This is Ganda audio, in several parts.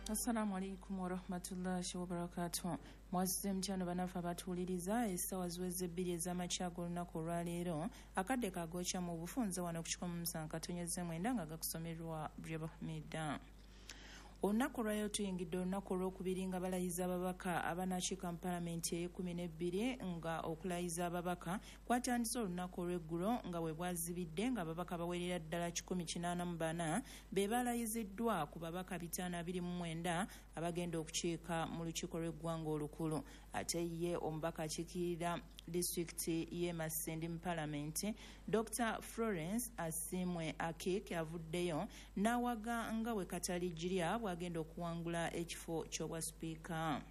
Assalamu alaikum warahmatullahi wabarakatuh. Mwasuze mutya bannaffe abatuwuliriza? Essaawa ziweze 2 ez'amakya g'olunaku olwaleero. Akadde kagokya mu bufunze wano ku 107.9 nga gakusomerwa Breba Hamida. Olunaku olwaleero tuyingidde olunaku olwokubiri nga balayiza ababaka abanakiika mu palamenti ey'e12, nga okulayiza ababaka kwatandise olunaku olw'eggulo nga bwe bwazibidde, nga ababaka bawerera ddala 184 be balayiziddwa ku babaka 529 abagenda okukiika mu lukiiko lw'eggwanga olukulu. Ate ye omubaka akiikirira disitulikiti y'e Masindi mu palamenti, Dr Florence Asiimwe Akik, avuddeyo n'awaga nga bwe Katalijirya bw'agenda okuwangula ekifo ky'obwa sipiika.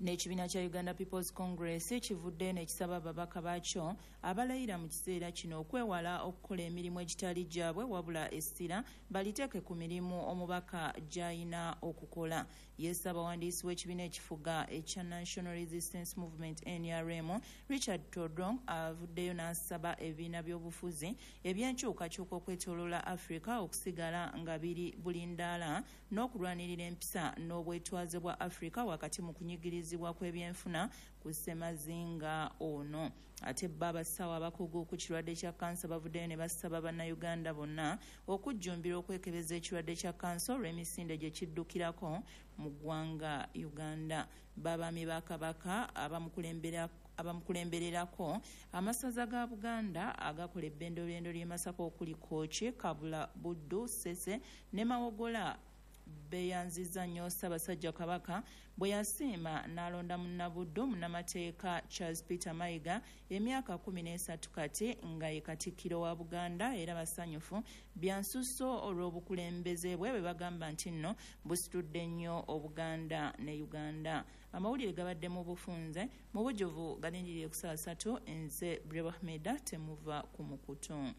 N'ekibiina kya Uganda People's Congress kivuddeyo n'ekisaba ababaka baakyo abalayira mu kiseera kino okwewala okukola emirimu egitali gyabwe, wabula essira baliteeke ku mirimu omubaka gy'alina okukola. Ye ssaabawandiisi w'ekibiina ekifuga ekya National Resistance Movement, NRM, Richard Todwong, avuddeyo n'asaba ebibiina by'obufuzi ebyenkyukakyuka okwetooloola Africa okusigala nga biri bulindaala n'okulwanirira empisa n'obwetwaze bwa Africa wakati mu kunyigirizibwa kw'ebyenfuna ku ssemazinga ono. Ate bo abasawo abakugu ku kirwadde kya kansa bavuddeyo ne basaba Bannayuganda bonna okujjumbira okwekebeza ekirwadde kya kansa olw'emisinde gye kiddukirako mu ggwanga Uganda. Babaami ba Kabaka abamukulembererako amasaza ga Buganda agakola ebbendobendo ly'e Masaka okuli Kooki, Kabula, Buddu, Ssese ne Mawogola beeyanzizza nnyo Ssaabasajja Kabaka bwe yasiima n'alonda munnabuddu munnamateeka Charles Peter Mayiga emyaka 13 kati nga ye Katikkiro wa Buganda, era basanyufu byansusso olw'obukulembeze bwe bwe bagamba nti nno busitudde nnyo Obuganda ne Uganda. Amawulire gabadde mu bufunze, mu bujjuvu galindirire ku saa 3. Nze Breba Hamida, temuva ku mukutu.